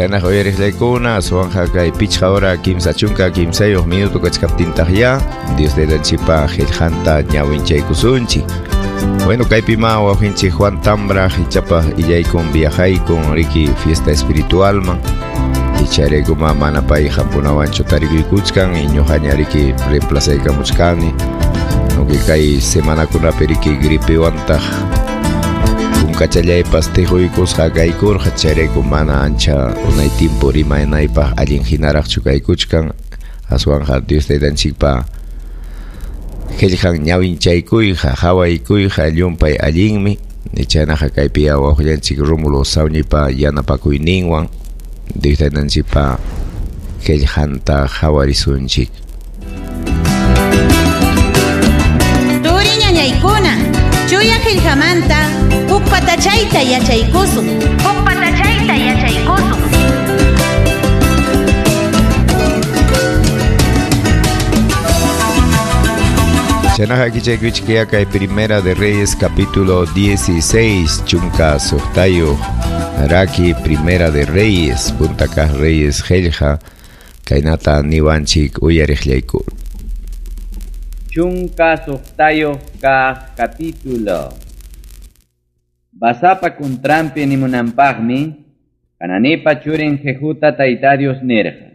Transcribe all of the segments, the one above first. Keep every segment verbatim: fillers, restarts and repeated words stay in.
Chaynaqa uyariqllaykuna aswanqa kay pichqa hora kimsa chunka kimsayuq minuto kachkaptintaq ya Dios taytanchikpa qillqanta ñawinchaykusunchik. Bueno, kaypima wawqinchik Juan Tambra ichapaq illaykun viajaykun riki fiesta espiritualman. Icharaykuma mana pay hampunawanchu tarikuykuchkan ñuqaña riki reemplazaykamuchkani. Aunque kay semanakunapi riki gripewantaq kunkachallaypas tihuykusqa kaykurqa chayrayku mana ancha unay tiempo rimanaypaq allin hinaraqchu kaykuchkan aswanqa Dios taytanchikpa qillqan ñawinchaykuyqa hawaykuyqa llumpay allinmi. Chaynaqa kaypi wawqillanchik Rómulo Sawñipa yanapakuyninwan Dios taytanchikpa qillqanta hawarisunchik. Turi ñañaykuna chuya qillqamanta huk patachayta yachaykusun. Huk patachayta yachaykusun. Chaynaqa kichaykuchik kay Primera de Reyes capítulo dieciséis chunka suqtayuq raki Primera de Reyes punta kaq Reyes qillqa kaynata niwanchik uyariqllayku. Chunka suqtayuq kaq capítulo. Basapa kuntrampi nimunanpaqmi Hananipa churin Jehuta Tayta Dios nirqa.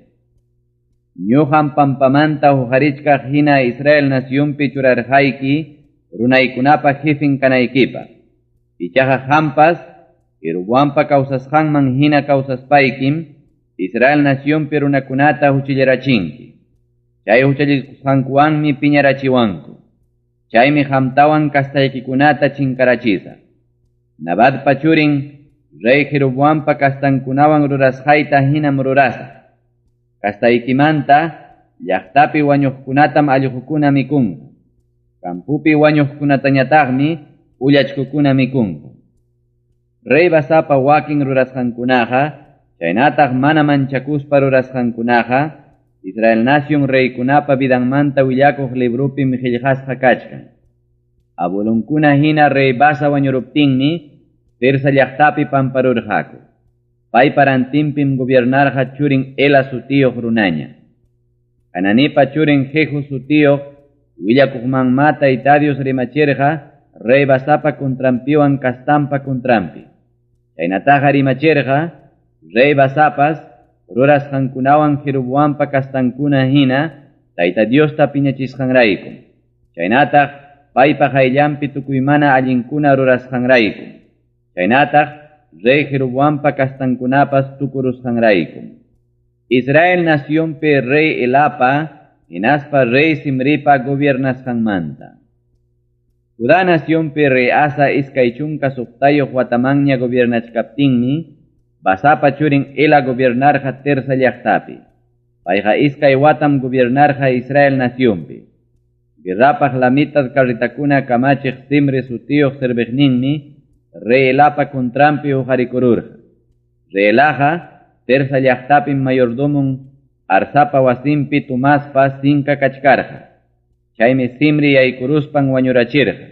Ñuqam pampamanta huqarichkaq hina Israel nacionpi churarqayki runaykunapa jefin kanaykipaq. Ichaqa qampas Jeroboampa kawsasqanman hina kawsaspaykim Israel nacionpi runakunata huchillarachinki. Chay huchallikusqankuwanmi piñarachiwanku. Chaymi qamtawan kastaykikunata chinkarachisaq. Nabatpa churin rey Jeroboampa kastankunawan rurasqayta hinam rurasaq. Kastaykimanta llaqtapi wañuqkunatam allqukuna mikunku. Kampupi wañuqkunatañataqmi ullachkukuna mikunku. Rey Basapa wakin rurasqankunaqa chaynataq mana manchakuspa rurasqankunaqa Israel nación reykunapa vidanmanta willakuq librupim qillqasqa kachkan. Abuelonkuna hina rey Basa wañuruptinmi Tirsa llaqtapi pamparurqaku. Paypa rantinpim gobiernarqa churin Ela sutiyuq runaña. Hananipa churin Jehu sutiyuq willakuqmanma Tayta Dios rimachirqa rey Basapa kuntrampiwan kastampa kuntrampi. Chaynataqa rimachirqa rey Basapas rurasqankunawan Jeroboampa kastankuna hina Tayta Diosta piñachisqanrayku. Chaynataq paypa qayllanpi tukuymana allinkuna rurasqanrayku. Chaynataq rey Jeroboampa kastankunapas tukurusqanrayku. Israel nacionpi rey Elapa hinaspa rey Zimripa gobiernasqanmanta. Judá nacionpi rey Asa iskay chunka suqtayuq watamanña gobiernachkaptinmi Basapa churin Ela gobiernarqa Tirsa llaqtapi. Payqa iskay watam gobiernarqa Israel nacionpi. Guerrapaq la mitad carritakuna kamachiq Zimri sutiyuq serviqninmi rey Elapa kuntrampi huqarikururqa. Rey Elaqa Tirsa llaqtapim mayordomon Arsapa wasinpi tumaspa sinka kachkarqa. Chaymi Zimri yaykuruspan wañurachirqa.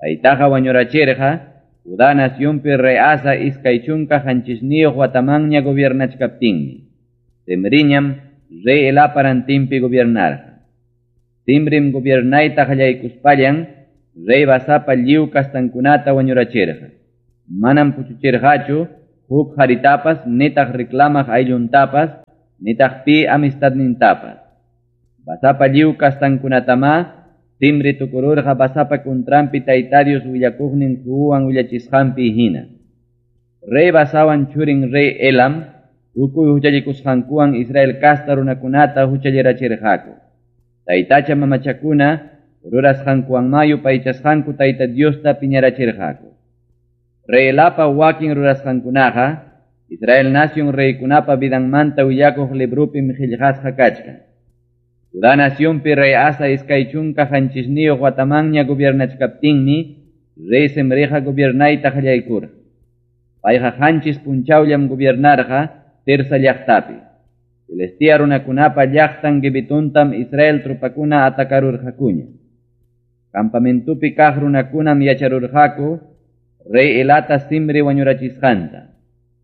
Paytaqa wañurachirqa Judá nacionpi rey Asa iskay chunka qanchisniyuq watamanña gobiernachkaptinmi. Zimriñam rey Elapa rantinpi gobiernarqa. Zimrim gobiernayta qallaykuspallan rey Basapa lliw kastankunata wañurachirqa. Manam puchuchirqachu huk haritapas nitaq reclamaq aylluntapas nitaq pi amistadnintapas. Basapa lliw kastankunatama Zimri tukururqa Basapa kuntrampi Tayta Dios willakuqnin Jehuwan willachisqanpi hina. Rey Basawan churin rey Elam tukuy huchallikusqankuwan Israel kasta runakunata huchallirachirqaku. Taytacha mamachakuna rurasqankuwanma yupaychasqanku Tayta Diosta piñarachirqaku. Rey Elapa wakin rurasqankunaqa Israel nación reykunapa vidanmanta willakuq librupim qillqasqa kachkan. Judá nacionpi rey Asa iskay chunka qanchisniyuq watamanña gobiernachkaptinmi rey Zimriqa gobiernayta qallaykurqa. Payqa qanchis punchawllam gobiernarqa Tirsa llaqtapi. Filistea runakunapa llaqtan Gibetontam Israel tropakuna atakarurqakuña. Campamentupi kaq runakunam yacharurqaku rey Elata Zimri wañurachisqanta.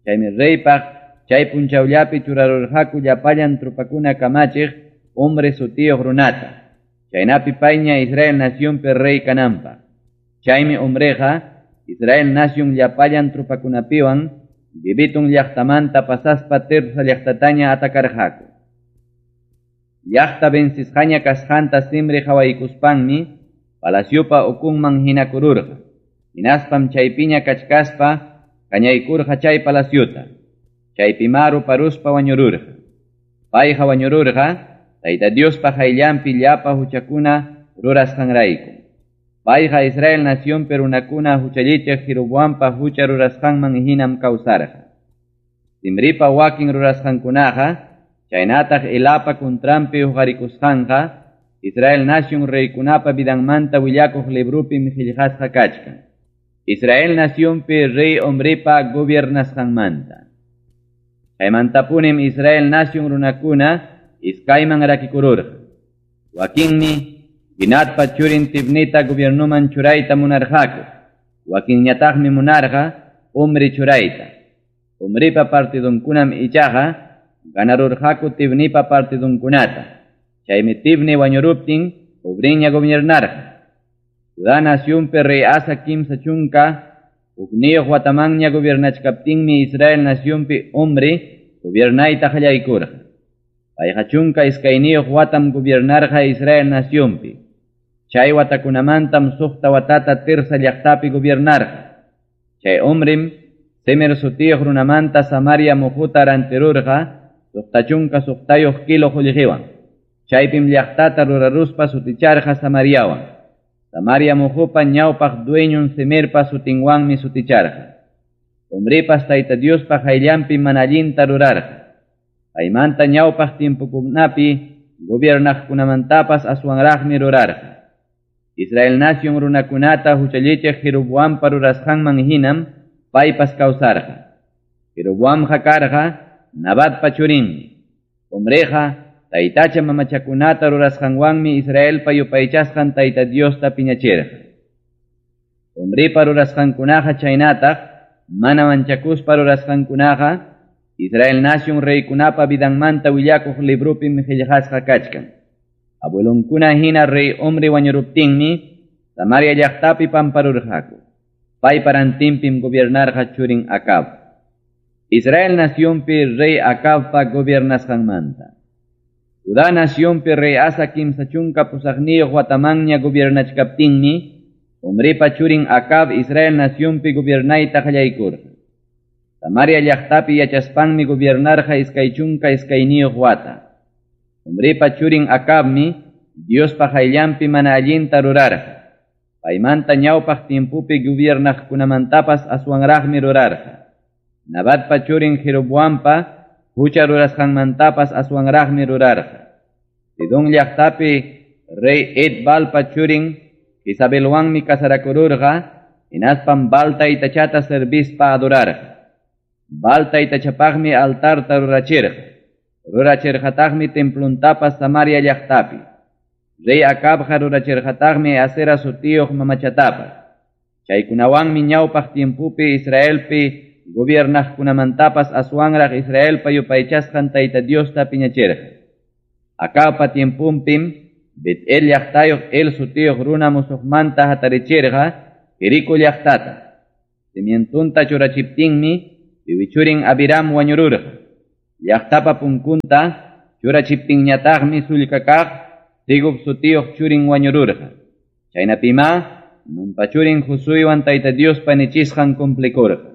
Chaymi reypaq chay punchawllapi churarurqaku llapallan tropakuna kamachiq Omri sutiyuq runata. Chaynapi payña Israel nacionpi rey kananpaq. Chaymi Omriqa Israel nación llapallan tropakunapiwan Gibetón llaqtamanta pasaspa Tirsa llaqtataña atakarqaku. Llaqta vencisqaña kasqanta Zimri qhawaykuspanmi palaciopa ukunman hinakururqa. Hinaspam chaypiña kachkaspa kañaykurqa chay palaciota. Chaypima ruparuspa wañururqa. Payqa wañururqa Tayta Diospa qayllanpi llapa huchakuna rurasqanrayku. Payqa Israel nacionpi runakuna huchallichiq Jeroboampa hucha rurasqanman hinam kawsarqa. Zimripa wakin rurasqankunaqa chaynataq Elapa kuntranpi huqarikusqanqa Israel nación reykunapa vidanmanta willakuq librupim qillqasqa kachkan. Israel nacionpi rey Omripa gobiernasqanmanta. Chaymantapunim Israel nación runakuna iskayman rakikururqa. Wakinmi Ginatpa churin Tibnita gobiernuman churayta munarqaku. Wakinñataqmi munarqa Omri churayta. Omripa partidunkunam ichaqa ganarurqaku Tibnipa partidunkunata. Chaymi Tibni wañuruptin Omriña gobiernarqa. Judá nacionpi rey Asa kimsa chunka hukniyuq watamanña gobiernachkaptinmi Israel nacionpi Omri gobiernayta qallaykurqa. Payqa chunka iskayniyuq watam gobiernarqa Israel nacionpi. Chay watakunamantam suqta watata Tirsa llaqtapi gobiernarqa. Chay Omrim Semer sutiyuq runamanta Samaria muhuta rantirurqa suqta chunka suqtayuq kilo qullqiwan. Chaypim llaqtata ruraruspa suticharqa Samariawan. Samaria muhupa ñawpaq dueñun Semerpa sutinwanmi suticharqa. Omripas Tayta Diospa qayllanpi mana allinta rurarqa. Paymanta ñawpaq tiempokunapi gobiernaqkunamantapas aswanraqmi rurarqa. Israel nación runakunata huchallichiq Jeroboampa rurasqanman hinam paypas kawsarqa. Jeroboamqa karqa Nabatpa churinmi. Omriqa taytacha mamachakunata rurasqanwanmi Israelpa yupaychasqan Tayta Diosta piñachirqa. Omripa rurasqankunaqa chaynataq mana manchakuspa rurasqankunaqa Israel nación reykunapa vidanmanta willakuq librupim qillqasqa kachkan. Abuelonkuna hina rey Omri wañuruptinmi Samaria llaqtapi pamparurqaku. Paypa rantinpim gobiernarqa churin Acab. Israel nacionpi rey Acabpa gobiernasqanmanta. Judá nacionpi rey Asa kimsa chunka pusaqniyuq watamanña gobiernachkaptinmi Omripa churin Acab Israel nacionpi gobiernayta qallaykurqa. Samaria llaqtapi yachaspanmi gobiernarqa iskay chunka iskayniyuq wata. Omripa churin Acabmi Diospa qayllanpi mana allinta rurarqa. Paymanta ñawpaq tiempopi gobiernaqkunamantapas aswanraqmi rurarqa. Nabatpa churin Jeroboampa hucha rurasqanmantapas aswanraqmi rurarqa. Sidón llaqtapi rey Et-Baalpa churin Jezabelwanmi casarakururqa, hinaspam Baal taytachata servispa adorarqa. Baal taytachapaqmi altarta rurachirqa. Rurachirqataqmi templuntapas Samaria llaqtapi. Rey Acabqa rurachirqataqmi Asera sutiyuq mamachatapas. Chaykunawanmi ñawpaq tiempopi Israelpi gobiernaqkunamantapas aswanraq Israelpa yupaychasqan Tayta Diosta piñachirqa. Acabpa tiemponpim Bet-El llaqtayuq El sutiyuq runa musuqmanta hatarichirqa Jericó llaqtata. Cimientunta churachiptinmi piwichurin Abiram wañururqa. Llaqtapa punkunta churachiptinñataqmi sullka kaq Segub sutiyuq churin wañururqa. Chaynapima Nunpa churin Josuewan Tayta Diospa nichisqan cumplikurqa.